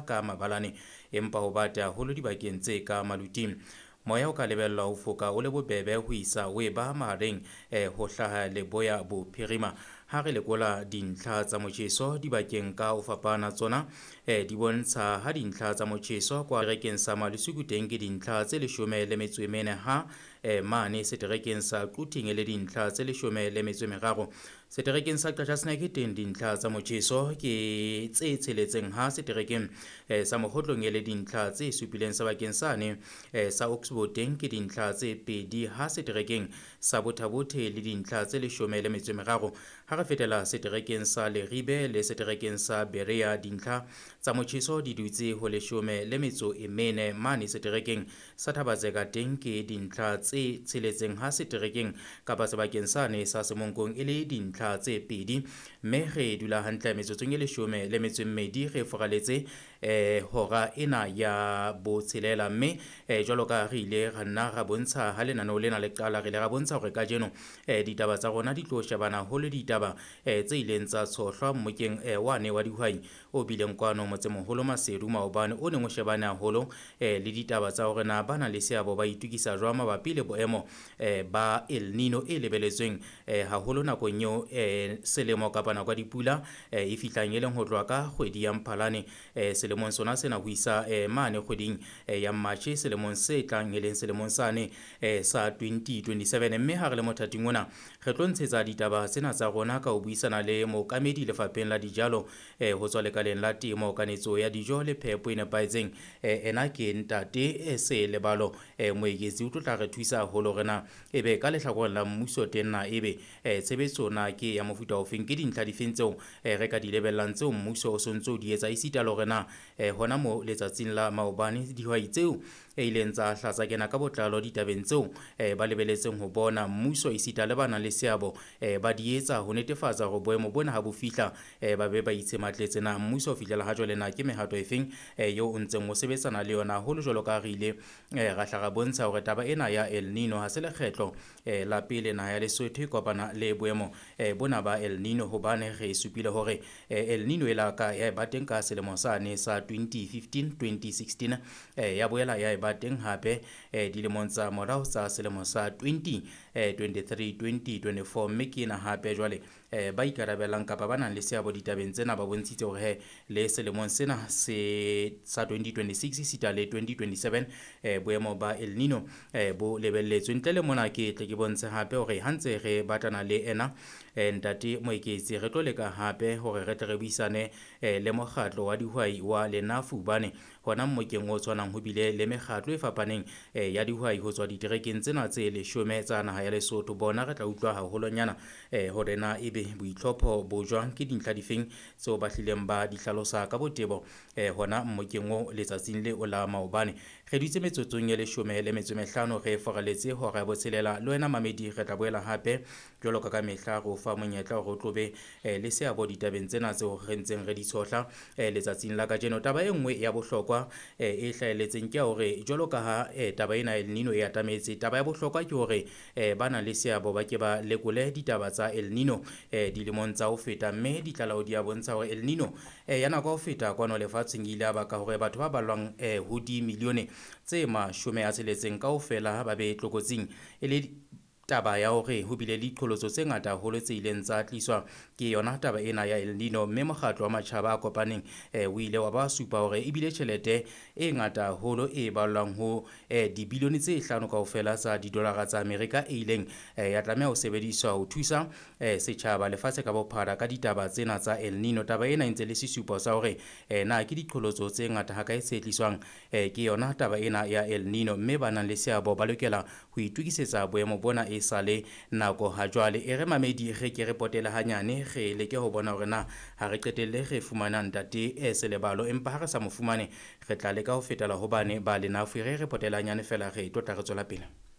tjha ka mabalane, empa ho bate haholo dibakeng tse ka maluting. Moya o ka lebellwa ho foka o le bobebe ho isa o eba mahareng ho hlaha leboya bophirima. Ha re lekola dintlha tsa motjheso dibakeng ka ho fapana tsona, di bontsha ha dintlha tsa motjheso kwa seterekeng sa Malusuku teng ke dintlha tse 14 ha mane seterekeng sa Quthing e le dintlha tse 13. Seterekeng sa Qacha's Nek teng dintlha tsa motjheso ke tse 6 ha seterekeng sa Mokgotlong e le dintlha tse 7 sebakeng sane sa Oxbow teng ke dintlha tse 2 ha seterekeng sa Bothabothe le dintlha tse 13. Ha re fetela seterekeng sa Leribe le seterekeng sa Berea dintlha tsa motjheso di dutse ho 14 mane seterekeng sa Thabatseka teng ke dintlha tse 6 ha seterekeng kapa sebakeng sane sa Semonkong e le dintlha tse 2, mme re dula hantle metsotsong e 12 re foraletse hora ena ya botshelela. Mme jwalo ka re ile ra nna ra bontsha ha lenaneo lena le qala, re ile ra bontsha hore kajeno ditaba tsa rona di tlo shebana haholo ditaba tse ileng tsa tshohlwa mmokeng wane wa dihwai o bileng kwano motsemoholo Maseru maobane, o neng o shebane haholo le ditaba tsa hore na ba na le seabo ba itukisa jwang mabapi le boemo ba El Nino e lebeletsweng haholo nakong eo selemo kapa nako ya dipula e fihlang, e leng ho tloha ka kgwedi ya Mphalane selemong sona sena ho isa mane kgweding ya Matjhe selemong se tlang, e leng selemong sane sa 2027. Mme ha re le mothating ona re tlo ntshetsa ditaba tsena tsa rona ka ho buisana le mookamedi lefapheng la dijalo ho tswa lekaleng la temo, kanetso ya dijo le phepo e nepahetseng. Ena ke ntate Selebalo Moeketsi, o tlo tla re thusa haholo hore na ebe ka lehlakoreng la mmuso teng na ebe tshebetso na ke ya mofuta ofeng, ke dintlha difeng tseo re ka di lebellang tseo mmuso o sontso o di etsa, esita le hore na hona mo letsatsing la maobane dihwai tseo e ileng tsa hlatsa kena ka botlalo ditabeng tseo ba lebeletseng ho bona mmuso esita le ba nang le seabo ba di etsa ho netefatsa hore boemo bona ha bo fihla ba be ba itshematletse. Na mmuso o fihlela ha jwale na ke mehato efeng eo o ntseng o sebetsana le yona haholo, jwalo ka re ile ra hla ra bontsha hore taba ena ya El Nino ha se lekgetlo la pele naha ya Lesotho e kopana le boemo bona ba El Nino, hobane re supile hore El Nino e la ka ya eba teng ka selemo sane sa 2015 2016, ya boela ya eba teng hape dilemong tsa morao tsa selemo sa 2023 2024. Mme ke ena hape jwale ba ikarabellang kapa ba nang le seabo ditabeng tsena ba bontshitse hore he le selemong sena se sa 2026 sita le 2027 boemo ba El Nino bo lebelletswe. Ntle le mona ke tle ke bontshe hape hore ha ntse re batlana le ena ntate Moeketsi, re tlo leka hape hore re tle re buisane le mokgatlo wa dihwai wa Lenafu, hobane hona mmokeng o tshwanang ho bile le mekgatlo e fapaneng ya dihwai ho tswa diterekeng tsena tse 10 tsa naha ya Lesotho. Bona re tla utlwa haholonyana hore na ebe boitlhopho bo jwang, ke dintlha difeng tseo ba hlileng ba di hlalosa ka botebo hona mmokeng o letsatsing leo la maobane. Re dutse metsotsong e 15 re foraletse hora ya botshelela. Le wena mamedi re tla boela hape jwalo ka ka mehla re o fa monyetla hore o tlobe le seabo ditabeng tsena tseo re ntseng re di tshohla letsatsing la kajeno. Taba e nngwe ya bohlokwa e hlahelletseng ke ya hore jwalo ka ha taba ena El Nino e atametse, taba ya bohlokwa ke hore ba nang le seabo ba ke ba lekole ditaba tsa El Nino dilemong tsa ho feta, mme ditlaleho di a bontsha hore El Nino ya nako ya ho feta kwano lefatsheng e ile ya baka hore batho ba balwang ho dimilione tse 60 kaofela ba be tlokotsing, e le taba ya hore ho bile le diqholotso tse ngata haholo tse ileng tsa tliswa ke yona taba ena ya El Nino. Mme mokgatlo wa matjhaba a kopaneng o ile wa ba supa hore ebile tjhelete e ngata haholo e ballwang ho dibilione tse 5 kaofela tsa didolara tsa Amerika e ileng ya tlameha ho sebediswa ho thusa setjhaba lefatshe ka bophara ka ditaba tsena tsa El Nino. Taba ena e ntse le sesupo sa hore na ke diqholotso tse ngata hakae tse tliswang ke yona taba ena ya El Nino, mme ba nang le seabo ba lokela ho itokisetsa boemo bona e sale nako ha jwale. E re mamedi re ke re potele hanyane re leke ho bona hore na ha re qetelle re fumana ntate Selebalo, empa ha re sa mo fumane re tla leka ho fetela hobane ba Lenafu. Re potele hanyane fela re tlo tla re tswela pele.